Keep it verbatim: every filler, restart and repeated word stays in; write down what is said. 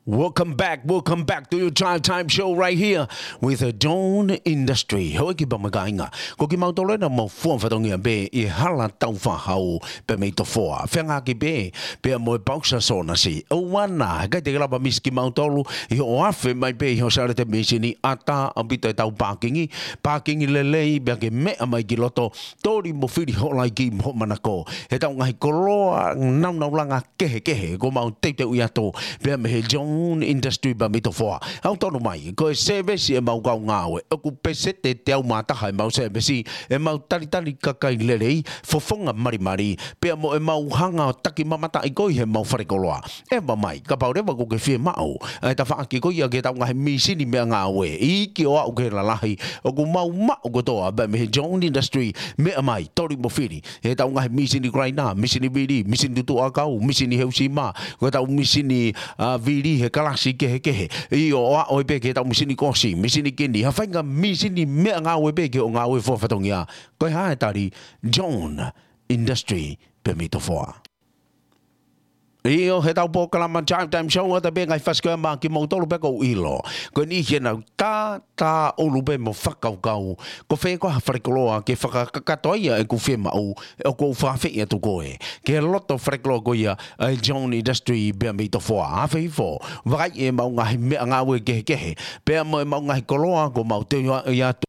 Welcome back, welcome back to your Drive Time Show right here with the John Industry. Houʻeiki pea mo e kāinga, ko kimautolu ena ʻoku mau fua fatongia pē ʻi he hala taufahau pea mei Tofoa. Feangaaki pē pea mo e pausa sōnasi. ʻOua naʻa, he ʻikai te ke lava misi kimautolu ʻi hoʻo afe mai pē ʻi hoʻo Sālote Misini, ʻatā ʻaupito ʻetau pākingi, pākingi lelei pea ke meʻa mai ki loto, toli mo fili hoʻo laiki mo hoʻo manako. Heʻetau ngaahi koloa nāunauʻanga kehekehe, ʻoku mau teuteuʻi atu pea mei he John Industry pea mei Tofoa. Aʻu tonu mai, ko e sēvesi ʻemau kau ngāue, ʻoku peseti ʻe teau mā taha ʻemau sēvesi, ʻemau talitali kakai lelei, fofonga malimali, pea mo ʻemau hanga ʻo taki mamataʻi koe ʻi heʻemau fale koloa. ʻEmau mai, kapau leva ʻoku ke fiemaʻu ʻa e tafaʻaki ko ia ki heʻetau ngaahi misini meʻangāue, iiki ʻo aʻu ki he lalahi, ʻoku mau maʻu kotoa pea mei he John Industry. Meʻa mai, toli mo fili heʻetau ngaahi misini kalaina, misini vili, misini tutuʻa ʻakau, misini heusima, ko ʻetau misini, ā, vili he kalasi kehekehe. ʻIo, ʻo aʻu pē ki heʻetau misini kosi, misini kini, ha faʻahinga misini meʻangāue pē ki hoʻo ngāue fua fatongia. Ko e hā e tali? John Industry pea mei Tofoa. ʻIo, heʻetau polokalama Drive Time Show, ʻoatu pē ngaahi fasi ko ia maʻa kimoutolu pea ʻoku ou ʻilo ko e niʻihi ʻenau tātāʻulu pē mo fakakaukau, ko fē koā ha fale koloa ke fakakakato ai ʻeku fiemaʻu, ʻoku ou fakaafeʻi atu koe ki he loto fale koloa ko ia ʻa e John Industry pea mei Tofoa. Afe hifo, vakai ʻemau ngaahi meʻangāue kehekehe, pea mo ʻemau ngaahi koloa ʻoku mau teuʻi atu